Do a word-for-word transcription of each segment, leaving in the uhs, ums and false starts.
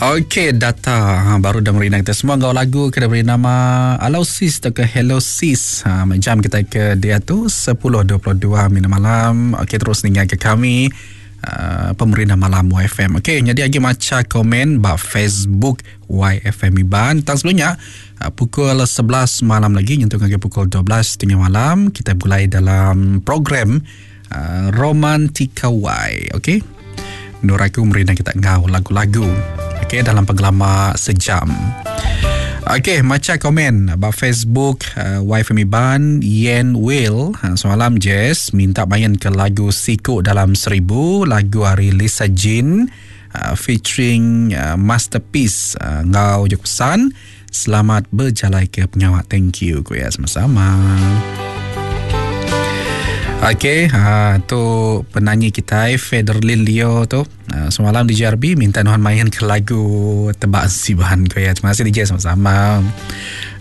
Okey, data ha, baru dah merindang kita semua ngau lagu ke beri nama Hello Sis atau ke Hello Sis. Ha, jam kita ke dia tu sepuluh dua puluh dua minit malam. Okey, terus dengar ke kami uh, pemerintah malam Y F M. Okey, jadi lagi maca komen ba Facebook Y F M Iban. Tang sebelumnya uh, pukul sebelas malam lagi nyentuh ke pukul dua belas tiga puluh malam kita mulai dalam program uh, Romantika Y. Okey. Nuraku merindang kita ngau lagu-lagu. Okey, dalam penggelama sejam. Okey, maca komen ba Facebook uh, Y F M Iban. Yen Will, ha, semalam Jess minta main ke lagu Siku Dalam Seribu, lagu hari Lisa Jean uh, featuring uh, Masterpiece. Uh, ngau je pesan selamat berjalan ke penyawak. Thank you ku ya, sama-sama. Okey, ha, tu penyanyi kita Federlin Leo tu. Ha, semalam D J R B minta nuan main ke lagu Tebak Siban ko ya. Terima kasih D J, sama-sama.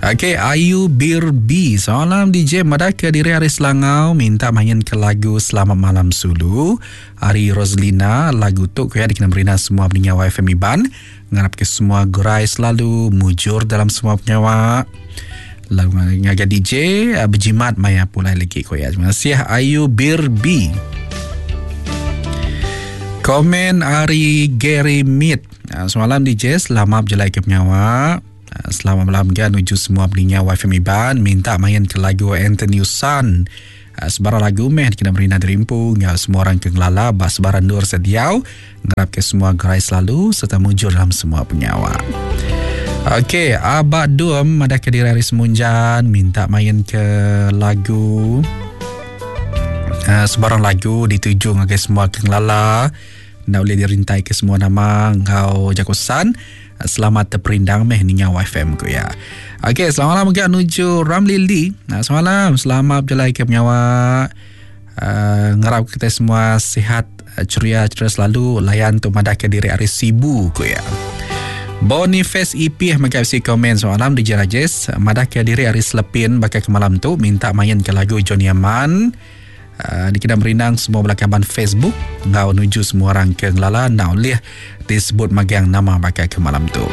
Okey, Ayu Birbi. Semalam D J madah ke diri Ari Selangau minta main ke lagu Selamat Malam Sulu. Ari Roslina, lagu tu ko ya dikena berina semua pendengar Y F M Iban. Ngarap ke semua gerai selalu mujur dalam semua penyawa. Lagu ngaga D J berjimat maya pulai lagi ko ya. Terima kasih Ayu Birbi. Komen Ari Gary Mead. Semalam D J selamat berjalan ke penyawa. Selamat malam kan nuju semua pendengar Y F M Iban. Minta main ke lagu Anthony Sun. Sebarang lagu meh kena merina derimpu ngau semua orang ke ngelala bas sebarang nur sediau. Ngarap ke semua gerai selalu serta mujur dalam semua penyawa. Okey, Abak Dum ada ke diri Hari Semunjan minta main ke lagu uh, sebarang lagu dituju ngagai semua ke ngelala. Nak boleh dirintai ke semua nama ngau jakosan. Selamat terperindang meh ninga Y F M ku ya. Okey, selamat malam juga nuju Ramli Lee. Nah, selamat malam, selamat berjalan ke penyawa. Uh, ngarap kita semua sihat, ceria, ceria selalu. Layan tu madah ke diri Hari Sibu ku ya. Boniface E P mega si komen soalan D J Rajesh madah ke diri hari Selepin bakal ke malam tu minta main ke lagu Johnny Aman. Uh, dikena merindang semua belakaban Facebook ngau nuju semua orang ke ngelala nau lih disebut magang nama bakal ke malam tu.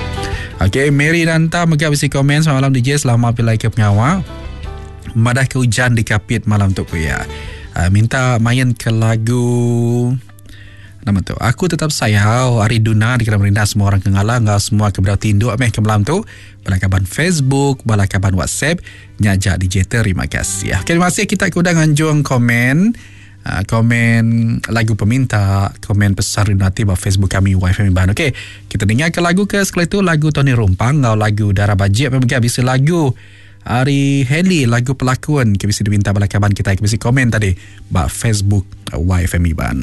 Okey, Mary Nanta mega bisi komen soalan D J selamat pilai ke pengawa. Madah ke hujan di Kapit malam tu ku ya. Uh, minta main ke lagu nama tu Aku Tetap Sayau Ari Duna dikira merindang semua orang ke ngalah ngau semua ke berau tinduk meh ke malam tu balakaban Facebook balakaban WhatsApp nyajak D J terima kasih. Okey, terima kasih kita ke udang anjung komen uh, komen lagu peminta komen pesan rindu ba Facebook kami Y F M Iban. Okey, kita dengar ke lagu ke sekali tu lagu Tony Rumpang ngau lagu Darah Bajik apa bisa lagu Ari Heli lagu pelakon ke bisa diminta balakaban kita ke bisa komen tadi ba Facebook Y F M Iban.